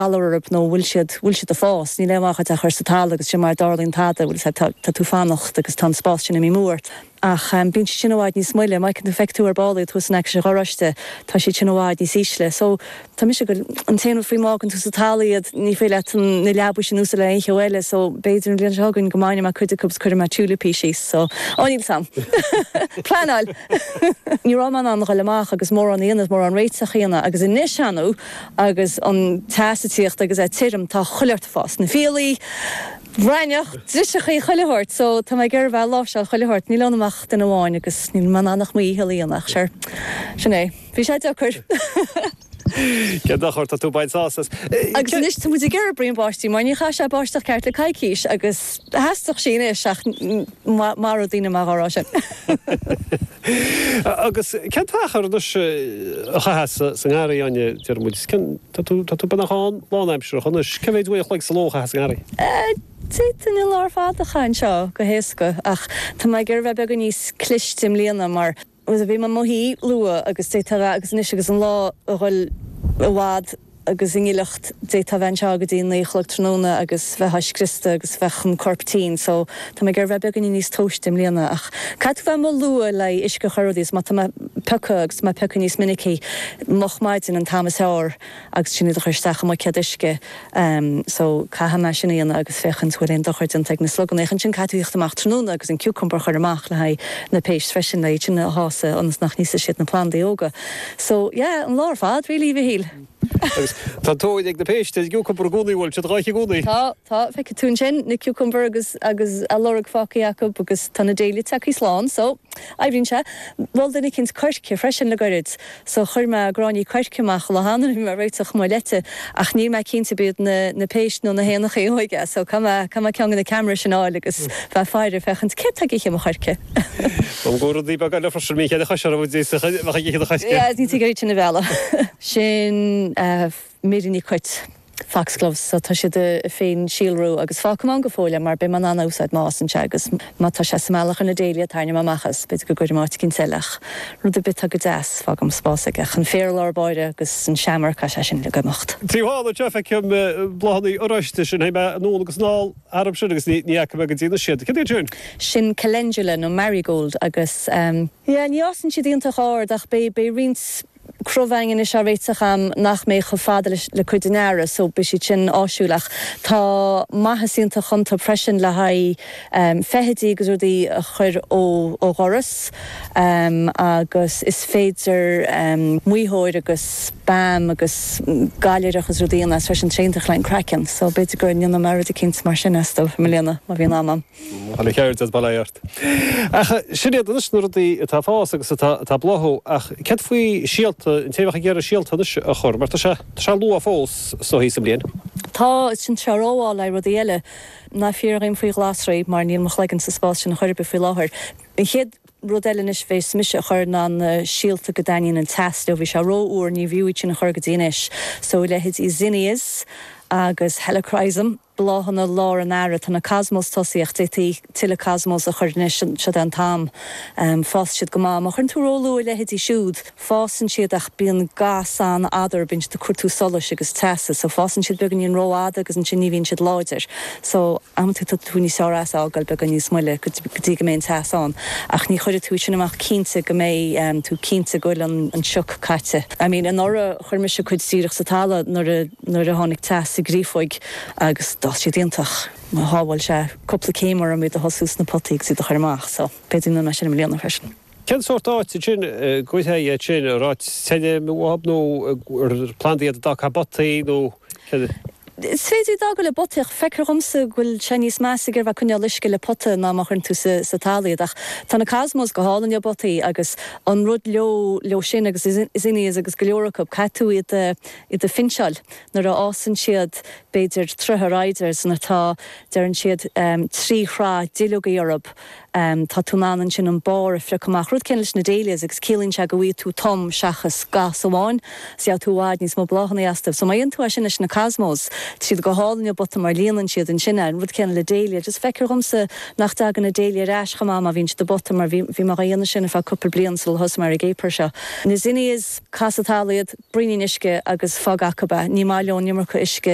Galar orthu nó bhfuil siad, bhfuil siad ag fás, níl aon mhaith dhuit é a chur sa talamh agus sin mara dtarlaíonn tada, bhfuil a fhios agat, tá tú fanacht agus tá an spás sin imithe amú ort. Ach bíonn siad sin i bhfad níos moille, má fheiceann tú, feicfidh tú ar ball iad thuas in aice an gharáiste, tá siad sin i bhfad níos ísle. So, tá mise ag, an t-aon rud faoi má fhágann tú sa talamh iad, ní féidir leat na leabaí sin a úsáid le aon cheo eile, so b'fhéidir an bhliain seo chugainn go mbainfidh mé cuid acu agus cuirfidh mé tiúilipí síos, so, á níl 's a'm. Pleanáil! Ní raibh mé in ann a dhul amach agus mórán a dhéanamh, mórán réiteach a dhéanamh agus anois, ar ndóigh, Agus an teas ag tíocht agus é tirim, tá chuile shórt ag fás. Na fiailí, raithneach, driseachaí, chuile shórt. So, tá mé ag iarraidh a bheith ag láimhseáil chuile shórt. Níl ionam ach duine amháin agus níl mé in ann ach mo dhícheall a dhéanamh ach sure, sin é. Bhí sé deacair. Cén dochar, tá tú ag baint sásamh as. Agus anois tá muid ag iarraidh braon báistí mar ní chaith sé báisteach ceart le coicís agus theastódh sí anois ach maróidh daoine mé dhá rá sin. Agus cén t-achar anois a chaithfeá sa ngarraí, Áine, deir muid, cén, tá tú, tá tú beagnach ann lánaimsearach anois, cé mhéad uair a chloig sa ló a chaithfeá sa ngarraí? D'fhéadfainn an lá ar fad a chaitheamh anseo go héasca ach tá mé ag iarraidh bheith beagán níos cliste i mbliana mar bhí mé i mo shuí luath agus d'fhéadfá a bheith, agus anois agus an lá a dhul i bhfad, agus i ngileacht, d'fhéadfá bheith anseo go dtí a 9 a chlog tráthnóna agus bheifeá scriosta agus bheadh an corp tinn so tá mé ag iarraidh bheith beagáinín níos tomhaiste i mbliana ach caithfidh tú bheith amuigh luath le uisce a chur ar rudaí is má tá mé piocadh agus tá mé piocadh níos minicí moch maidin an t-am is fearr agus sin iad a chur isteach i mbuicéad uisce so caithfidh mé sin a dhéanamh agus féachaint bhfuil aon dochar déanta ag na sluganna ach ansin caithfidh tú thíocht amach tráthnóna agus an cucumber a chur amach le haghaidh na péist freisin le iad sin a shásamh ionas nach n-íosfaidh siad na plandaí óga. So, yeah, an lá ar fad, really, a Mhichíl. Agus tá tóir ag na péist ar an gciúcumbar i gcónaí, bhfuil siad dhá ithe i gcónaí? Tá, tá, feicfidh tú ansin na cucumber agus, agus a lorg fágtha acu agus tá na dahlia tagtha slán, so, oibríonn sé. Mhol duine eicínt coirce freisin le goirid, so chuir mé gráinní coirce amach an lá cheana, bhí mé ag réiteach mo leite, ach níl mé cinnte ab iad na, na péist nó na héanachaí óige, so caithfidh mé, caithfidh mé ceann de na cameras sin a fháil agus bheith ag faire, féachaint céard tá ag ithe mo choirce. Go raibh rudaí beaga eile freisin, bhí cheithre chois orthu, bheadh ag ithe do choirce. Yeah, ní tig iad sin a mhealladh. Sin míríní cait, foxgloves, so tá siad ag féin-síolrú agus fágfaidh mé ann go fóill é mar beidh mé in ann a úsáid má fhásann sé agus má tá sé sa mbealach ar na dahlia tarraingeoidh mé amach as, b'fhéidir go gcuirfidh mé áit eicínt eile ach rud ar bith atá go deas, fágaim spás aige ach an féar i lár báire agus an seamair, caithfidh sé sin uilig imeacht. Taobh thall anseo feicim bláthanna oráiste sin, théim anonn agus anall. Orthu sin agus ní fhaca mé go dtí anois iad. Cad iad sin? Sin calendula nó marigold agus yeah ní fhásann siad iontach ard ach beidh beidh roinnt crobhaing anois á réiteach a'm nach mbeidh chomh fada leis le cuid den earra so beidh siad sin áisiúil ach tá maitheas iontach iontu freisin le haghaidh feithidí agus rudaí a chur ó ó dhoras agus is féidir maothóir agus beam agus gailearacht agus rudaí a dhéanamh as freisin iontach le an craiceann so b'fhéidir go ndéanfaidh mé rud eicínt mar sin astu i mbliana má bhíonn am a'm. Chuile cheird as bail ort. Ach sin iad anois na rudaí atá ag fás agus atá atá ag bláthú ach céard faoi síolta, an té a bheadh ag iarraidh síolta anois a chur mar tá sé tá sé luath fós is dóichí sa mbliain. Tá, sin sé rómhall le rudaí eile. Ná fiafraigh dhíom faoi ghlasraí mar níl mo chloigeann sa spás sin chor ar bith faoi láthair. An chéad rud eile anois a bheas mise a chur ná na síolta go dtaitníonn an teas leo. Bhí sé ró-fhuar, ní bhfiú iad sin a chur go dtí anois. So leithéidí zinnias agus helichrysum, bláthanna lár an earraigh. Tá na cosmos tosaithe ach d'fhéadfaí tuilleadh cosmos a chur anois, seo é an t-am. Fásfaidh siad go maith. Má chuireann tú róluath a leithéidí siúd, fásann siad ach bíonn gas an-fhada orthu, bíonn siad ag cuartú solais agus teasa. So fásann siad beagáinín rófhada agus ansin ní bhíonn siad láidir. So. Amantaí tá tú níos fearr as a fhágáil beagán níos moille go dtí go mbeidh an teas ann. Ach ní chuirfidh tú sin amach cinnte go mbeidh tú cinnte go bhfuil an sioc caite. I mean anuraidh chuir mise cuid díreach sa talamh nuair a nuair a tháinig teas sa gcreafóig agus d'fhás siad iontach. Shábháil sé cúpla céim orm iad a thosú sna potaí agus iad a chur amach so b'fhéidir go ndéanfaidh mé sin i mbliana freisin. Cén sórt áit ansin a gcuirfeá iad sin? Ar áit tirim uathub nó ar plandaí iad a d'fhágfá i bpotaí nó céard? Is féidir iad a fhágáil i bpotaí ach feictear dhomsa go bhfuil sé níos measa ag iarraidh bheith ag coinneáil uisce le pota ná má chuireann tú sa talamh iad. Ach tá na cosmos go hálainn i bpotaí agus an rud leo leo sin agus zinnias agus go leor acu, caithfidh tú iad a iad a phinseáil nuair a fhásann siad b'fhéidir troithe ar aghaidh nuair atá, deireann siad, trí shraith duilleogaí orthu. Tá tú in ann ansin an barr a phriocadh amach. Rud céanna leis na dahlias agus ciallaíonn sé go bhfaighidh tú tom seachas gas amháin. 's gheobhaidh tú i bhfad níos mó bláthanna astu. So má dhéanann tú é sin leis na cosmos, tá siad go hálainn i bpota mar líonann siad ansin é. An rud céanna le dahlia. Just feictear dhomsa nach dtagann na dahlia ar ais chomh maith má bhíonn siad i bpota mar bhí bhí mé dhá dhéanamh sin ar feadh cúpla bliain sular thosaigh mé ar an gcéapar seo. Na zinnias, cas sa talamh iad, braoinín uisce agus fág acu é. Ní maith leo an iomarca uisce.